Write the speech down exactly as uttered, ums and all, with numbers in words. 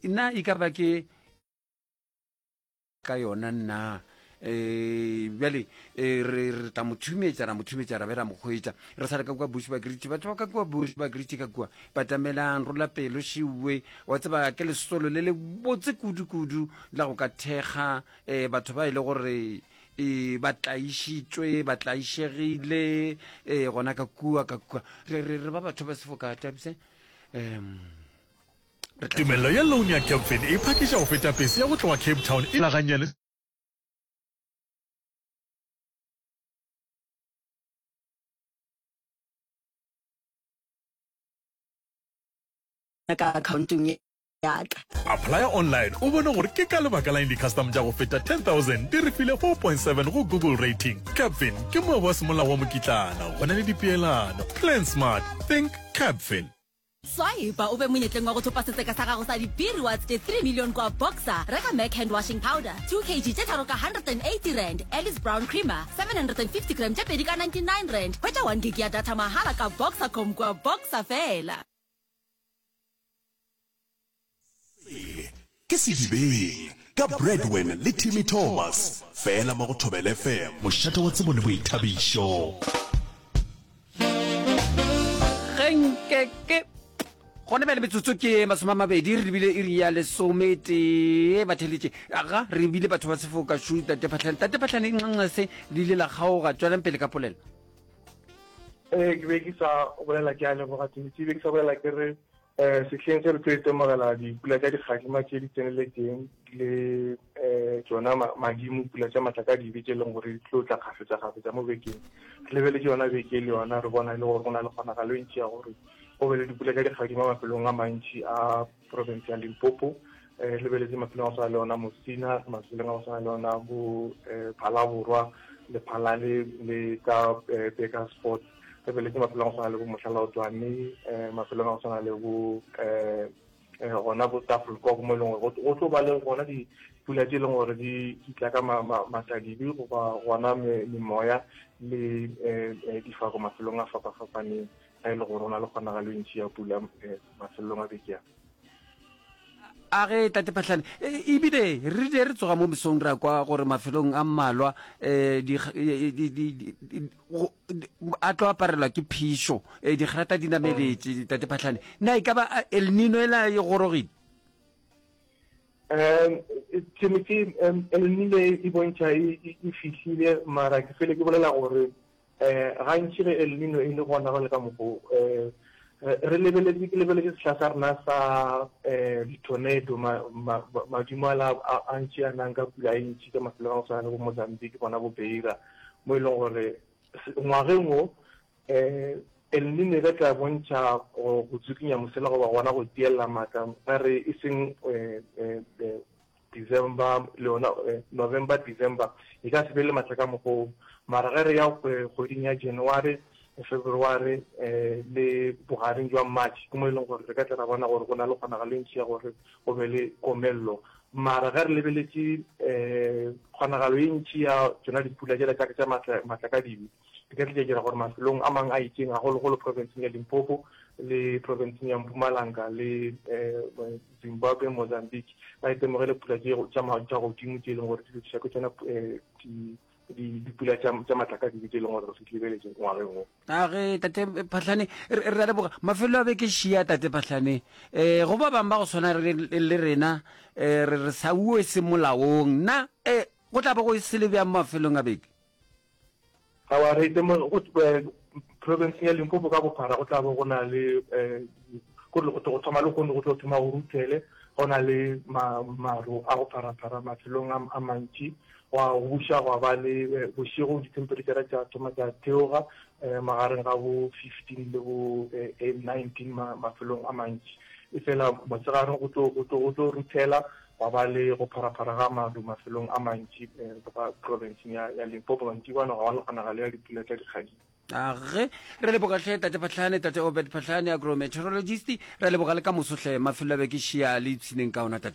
Na e ka ba ke ka yona nna? Um bjale eh, re re tla mo thumetša, ra mo thumetša, ra be ra mo hwetša. Re sa le ka kua Bushbuckridge, batho ba ka kua Bushbuckridge ka kua, batamelang, rola pelo, šiwe. Wa tseba, ke lesolo le le botse kudu-kudu la go ka thekga um batho ba e le gore e ba tlaišitšwe, ba tlaišegile um gona ka kua, ka kua. Re, re, re ba batho ba sefoka tabse. Um re tla Tumelelo ya loan ya Capfin e phakiša go feta pese ya go tloga Cape Town e la gannyane. Ka akhaontong ya ka. Applya online o bone gore ke ka lebaka la eng di-custom tša go feta ten thousand di re file four point seven go Google rating. Capfin ke moabi wa semolao wa mokitlana, go na le dipeelano. Plan smart, think Capfin. Swipe o be monyetleng wa go thopa setseka sa gago sa di-B-Rewards tše three million kwa Boxer. Reka Mac hand washing powder two kg tše tharo ka hundred and eighty rand, Alice Brown creamer seven hundred and fifty gram tše pedi ka ninety nine rand. Hwetša one gig ya data mahala ka Boxercom kwa Boxer fela. Se ke Sedibeng ka Bradwin le Timmy Thomas, fela mo go Thobela F M, mošate wa tsebo le boithabišo. Ge nke ke gona bjale metsotso ke masome a mabedi re lebile iri ya lesometee batheletše aga re bile batho ba sefoka šu tate Phahlane tate Phahlane nxanxase le ile la kgaoga tšwelang pele ka polelo. Ee, ke be ke sa bolela ke a leboga Timothy, ke be ke sa bolela ke re um sehleng se re tlo itemogela dipula tša dikgadima tše di tseneletšeng le um tšona madimo, pula tša matlakadibe tše e leng gore di tlo tla kgafetša-kgafetša mo bekeng. Re lebeletše yona beke le yona, re bona e le gore go na le kgonagalo e ntši ya gore go be le dipula tša dikgadima mafelong a mantši a province ya Limpopo. Um re lebeletše mafelong a go swana le yona Musina, mafelong a go swana le yona bo um Phalaborwa, Lephalale le ka um Burgersfort. Re lebeletše mafelong a go swana le bo Mohlalaotwane, um mafelong a go swana le bo um gona bo Tafelkop, mo e leng gore go tlo ba le gona dipula tše e leng gore di tla ka matladibe goba gona memoya le um difako mafelong a fapa-fapaneng, ga e le gore go na le kgonagalo e ntši ya pula mafelong a beke a. A ge Tate Phahlane, ebile re rile re tsoga mo mesong ra kwa gore mafelong a mmalwa um a tlo aparelwa ke phišo, digrata di nameletše. Tate Phahlane, na e ka ba El Nino ela e gorogile? Um Timothy, um El Nino e bontšha e fihlile, mara ke fele ke bolela gore um gantši ge El Nino e le gona go le ka mokgo um re lebeletše, ke lebeletše sehla sa rena sa um di-tornado, madimo ala a ntši a nang ka pula e ntši ka mafelong a go swana le bo Mozambique, bona bo Beira, mo e leng gore ngwageng wo um El Nino e ka tla bontšha go tsukinya mosela goba gona go tielela maatla ga re e seng um December le yona November, December e ka se be le matla ka mokgwa o, mara ge re ya kgweding ya January, February le bogareng jwa March ke mo e leng gore re ka tla ra bona gore go na le kgonagalo e ntši ya gore go be le komello. Mara ge re lebeletše kgonagalo e ntši ya tšona dipula tšela tša tša matlakadibe di ka tla tša dira gore mafelong a mangwe a itšeng, gagologolo provinceng ya Limpopo le provinceng ya Mpumalanga le Zimbabwe, Mozambique, ba itemogele pula tše tša tša godimo tše e leng gore di lokiša ke tšona dipula tša tša matlakadibe tše e leng gore re di lebeletše ngwageng wo. A ge Tate Phahlane, re re a leboga. Mafelo a beke šia Tate Phahlane. Eh, go ba bang ba go swana le rena, eh, re re sa uwe se molaong. Na eh, go tla ba go e sele bjang mafelong a beke? Aowa, re itemoge go provinceng ya Limpopo ka bophara go tla bo go na le gore go thoma le kgone go tlo thoma go ruthele, go na le maru a go pharaphara mafelong a mantši, gwa go buša gwa ba le bošego dithemphereitšhara tša thoma tša theoga magareng ga bo fifteen le bo nineteen mafelong a mantši. Efela motshegareng go tlo go tlo go tlo ruthela gwa ba le go pharaphara ga maru mafelong a mantši provinceng ya ya Limpopo. Mantšibana gwa ba le kgonagalo ya dipula tša dikgadima. A ge re leboga hle Tate Phahlane, Tate Obed Phahlane, agrometeorologist. Re leboga le ka moso hle, mafelo a beke šia le ipshineng ka ona Tate.